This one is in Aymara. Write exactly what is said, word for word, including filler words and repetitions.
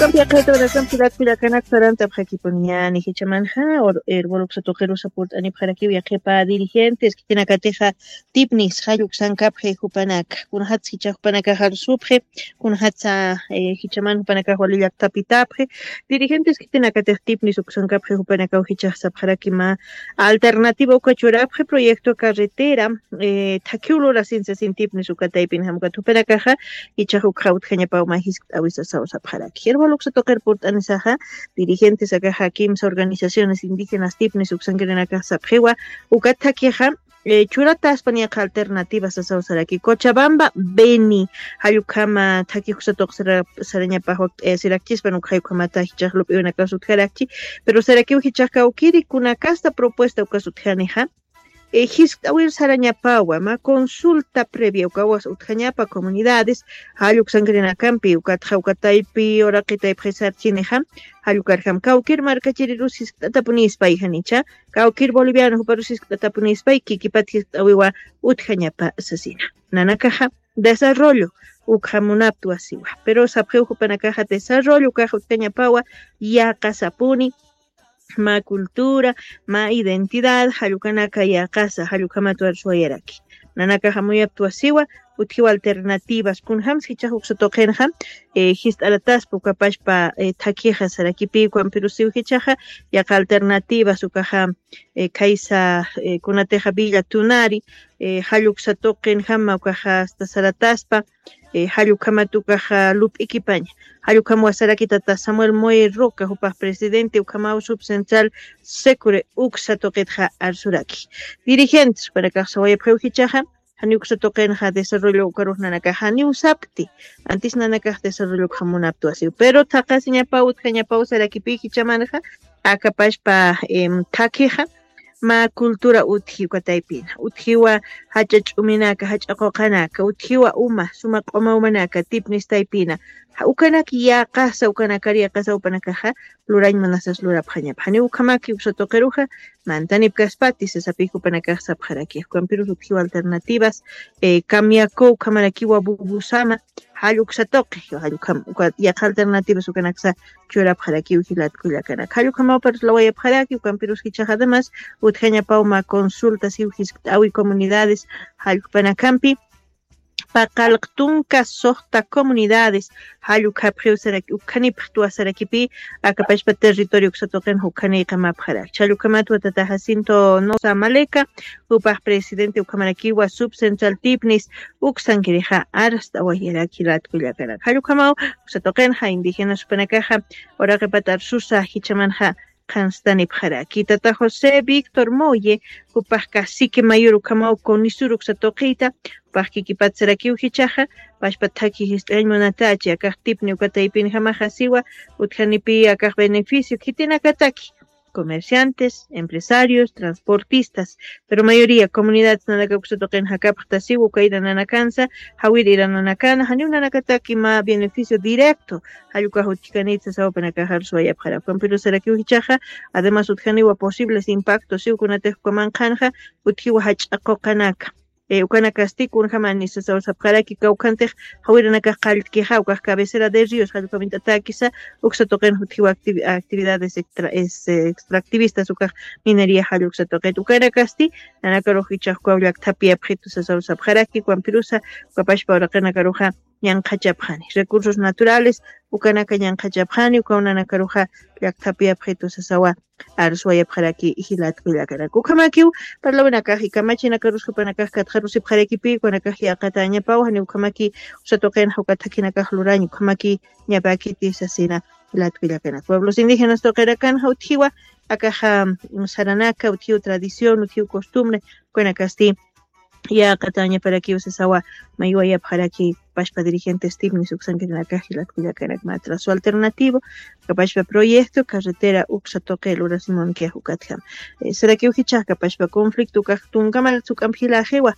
Kampiaqhayta wanakampi latkullakanakta sarantapxakipuniñani jichamanxa, herboluksa tuqirusa purt'anipxarakiw yaqhipa dirigentes khitinakatixa tipnis jalluksankapxi jupanaka kunajatsa jichax jupanakax arsupxi, kunajatsa jichaman jupanakax wali llaktapitapxi. Dirigentes khitinakatix tipnis uksankapxi jupanakaw jichax sapxaraki mä alternativa uka churapxi proyecto carretera thakhiw lurasin sasin tipnis uka taypin jamkat jupanakaxa ichax ukxa utjañapaw mä jiskt'äwisa sawsapxaraki. Herboluksa tuqir purt'anisaxa dirigentes akaxa kimsa organizaciones indígenas tipnis uksankirinakax sapxiwa ukat thakhixa churataspan yaqha alternativas sasawsaraki cochabamba beni jallukama thakhixa tuqsarañapax wakt'ayasirakchispan ukxayukhamata jichax lup'iwinakas utjarakchi. Pero sarakiw jichax kawkiri kunakasta propuesta ukas utjanixa jiskt'awir sarañapawa mä consulta previa ukawas utjañapa comunidades jalluksankirinakampi ukatxa ukataypi uraqitaypxisarchinixa jallukarjam kawkir markachirirus jiskt'atapunispa ijanicha kawkir boliviano juparus jiskt'atapunispa kikipat jiskt'awiwa utjañapa sasina. Nanakaxa desarrollo ukxamunaptwa siwa pero sapxiw jupanakaxa desarrollo ukaxa utjañapawa yaqasapuni mä cultura mä identidad jallukanaka yaqasa jallukhamatwar suwayaraki. Nanakaxa muyaptwa siwa utjiw alternativas kunjamsi jichax uksa tuqinxa jist'arataspa ukapashpa thakhixa sarakipi ukhampirusiw jichaxa yaqa alternativas ukaxa khaysa kunatixa villa tunari jalluksa tuqinjama ukaxa asta sarataspa jallukhamat ukaxa lup'ikipaña. Jallukhamwa sarakitata samuel moy roca jupax presidente ukhamaw subcentral secure uksa tuqitxa arsuraki. Dirigentes jupanakax sawayapxiw jichaxa janiw uksa tuqinxa desarrollo ukarux nanakax janiw sapkti antis nanakax desarrollo ukxamunaptwasiw pero thaqasiñapaw utjañapaw sarakipi jichamanxa akapashpa thakhixa mä cultura utji uka taypina utjiwa jach'a ch'uminaka jach'a quqanaka utjiwa uma suma q'uma umanaka tipnis taypina ukanak yaqasa ukanakar yaqasa upanakaxa lurañ munasas lurapxañapa janiw ukhamaki uksa tuqiruxa mantanipkaspati sasapix upanakax sapxaraki ukampirus utjiwa alternativas kamiaku ukhamarakiwa bubusama jalluksa tuqi jallukam uka yaq alternativas ukanaksa churapxarakiw jilatkullakanaka jallukamaw parlawayapxaraki ukampirus jichax además utjañapaw mä consultas iw jiskt'awi comunidades jallukpanakampi paqallq tunka suxta comunidades jallukhapxiw saraki ukhanipxtwa sarakipi akapashpa territorio uksa tuqinxa ukhaniyqamapxaraki challukamatwa tata jacinto nosa maleka jupax presidente ukhamarakiwa subcentral tipnis uksankirixa arst'awayaraki jilatkullakanaka jallukamaw uksa tuqinxa indígenas jupanakaxa uraqipat arsusa jichamanxa qhanstanipxaraki tata josé víctor moye jupax cacique mayor ukhamaw conisur uksa tuqita jupax kikipat sarakiw jichaxa pashpa thakhi jist'añ munatachi akax tipni uka taypinjamaxa siwa utjanipi akax beneficio khitinakataki comerciantes empresarios transportistas pero mayoría comunidades nanaka uksa tuqin jakapxtasiw uka irananakansa jawir irananakana janiw nanakataki mä beneficio directo jallukax utjkanit sasaw upanakaxar suwayapxarapkan pero sarakiw jichaxa además utjaniwa posibles impactos iw kunatix ukaman qhanxa utjiwa jach'a quqanaka ukanakasti kunjamani sasaw sapxaraki kawkhantix jawiranakax qalltkixa ukax cabecera de ríos jallukhamintatäkisa uksa tuqin jutjiw actividades extractivistas ukax minería jalluksa tuqit ukanakasti nanakarux ichax ukaw llakthapi apxitu sasaw sapxaraki ukampirusa ukapashpa uraqinakaruxa ñanqhachapxani recursos naturales ukanaka ñanqhachapxani ukaw nanakaruxa llakthapi apxitu sasawa arsuwayapxaraki jilatkullakanaka ukhamakiw parlawinakax ikamachinakarus jupanakax katxarusipxarakipi ukanakax yaqatañapaw jani ukhamaki usa tuqinxa uka thakhinakax lurañ ukhamaki ñapäkiti sasina jilatkullakanaka pueblos indígenas tuqirakanxa utjiwa akaxa saranaka utjiw tradición utjiw costumbre ukanakasti yaqatañaparakiw sasawa maywayapxaraki pashpa dirigentes tipnis uksankirinakax jilatkullakanaka matra su alternativo kapashpa proyecto carretera uksa tuqi lurasimunkiyax ukatjam sarakiw jichax kapashpa conflicto ukax tunkamal suk'amp jilaxiwa